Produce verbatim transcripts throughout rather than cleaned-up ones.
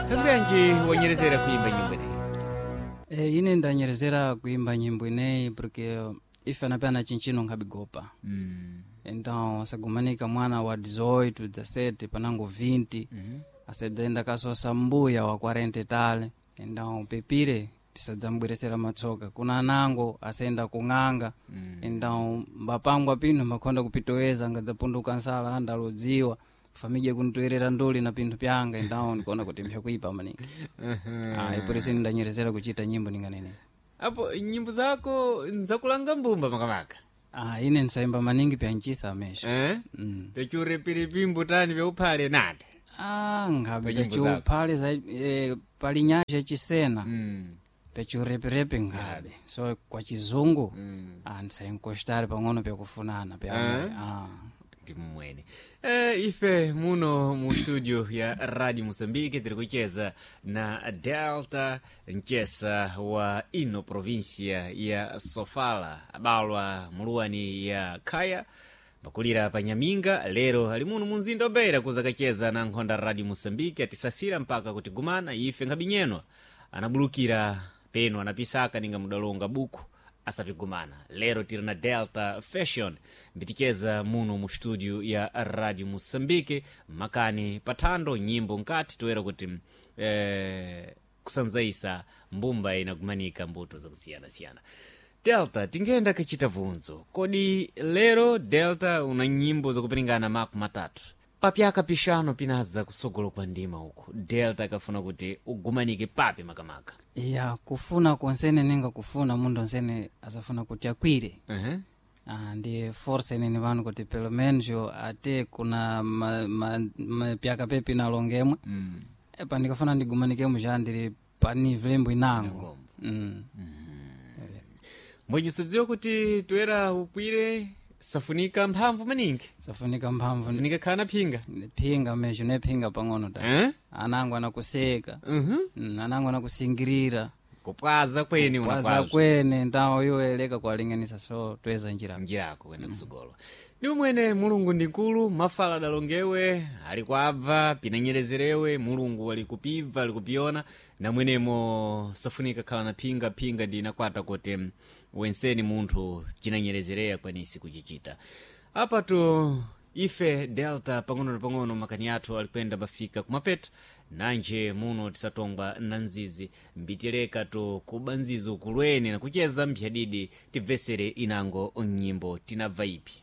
Thangwi wanyerezera kuimba nyimbo ineyi? E, ine ndanyerezera kuimba nyimbo ineyi porque ife anapena chinchino nkhabigopa. Mm. Então asagumanika mwana wa dezoito, dezessete, panango vinte, mm -hmm. Asadzaenda kasosa mbuya wa quarenta tale. Então pepire pisadzambweresera matsoka kuna anango asayenda kung'anga. mm. Então mbapangwa pinthu mbakhonda kupitoweza ngadzapunduka nsala andalodziwa famidya kuntoerera nduli na pinthu pyanga. Então ndikuona kuti mpyakuipa maningi. Ah, por isso ndanyerezera kuchita nyimbo ninganene. Apo nyimbo zako nzakulanga mbumba makamaka? Ah, ine nsayimba maningi pyanchisa amesho. Eh? Mm. Pyachuripiripi tani pyauphale nati? Ah, nkhabe Pa nyimbo zako. pyachiuphale za eh, pali nyasha yachisena. Mm. Pyachiureperepe nkhabe so kwa chizungu. Mm. Ah, ndisayinkostare pang'ono pyakufunana pya. Eh? Ah. Ndi mmwene e, ife muno mu studio ya Radio Moçambique tiri kucheza na Delta Mchesa wa ino província ya Sofala, abalwa muluwani ya Khaya, pakulira pa Nyaminga. Lero ali muno mu mzinda wa Beira kuza kacheza na nkhonda Radio Moçambique, atisasira mpaka kutigumana ife nkhabinyenwa anabulukira peno anapisaka ninga mudalonga buku asapigumana. Lero tiri na Delta Fashion mbiticheza muno mu studio ya Radio Moçambique makani pathando nyimbo nkati toera kuti eh, kusanzaisa mbumba inagumanika mbuto zakusiyanasiyana. Delta, tingenda kachita vunzo kodi lero Delta una nyimbo zakupiringana maku matatu papyaka pixano pinaza kutsogolo kwa ndima uku Delta akafuna kuti ugumanike papi makamaka? Ya, kufuna konsene ninga kufuna mundu onsene asafuna kuti akwire. uh -huh. Ah, ndi força inene pano kuti pelo menos yo ate kuna ma, ma, ma, pyaka pepi nalongemwe. mm. Epa ndikafuna ndigumanikemo já ndili pa nível imbo inango. Inangombo. Mm. Mbwenye subziwa kuti toera upwire safunika mphamvu maningi. Safunika mphamvu. Safunika khana phinga. Phinga mesho nephinga pang'ono ta. Eh? Anango anakuseka. uh-huh. mm, anango anakusingirira. Kupwaza kweni. Kwaza unakwaza kwene ndawo yoeleka kwalinganisa so tweza njira. Njirako kwenda kusogolo ndi umwene Mulungu ndi nkulu mafala adalongewe ali kwabva pinanyerezerewe Mulungu ali kupibva ali kupiona namwenemo safunika khala na phinga phinga ndi inakwata kuti wenseni munthu cinanyerezereya kwanisi kuchichita apatu ife Delta pang'ono na pang'ono makani athu alikwenda pafika kumapeto nanje muno tisatongwa na nzizi mbitileka to kuba nzizi ukulweni na kucheza mphyadidi tibvesere inango nyimbo tinabva ipi?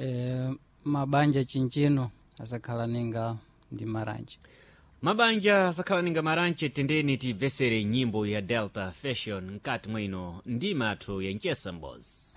E, mabanja chinchino asakhala ninga ndi maranje. Mabanja asakhala ninga maranje. Tendeni tibvesere nyimbo ya Delta Fashion mkati mwino ndima athu ya Nchesa Mbozi.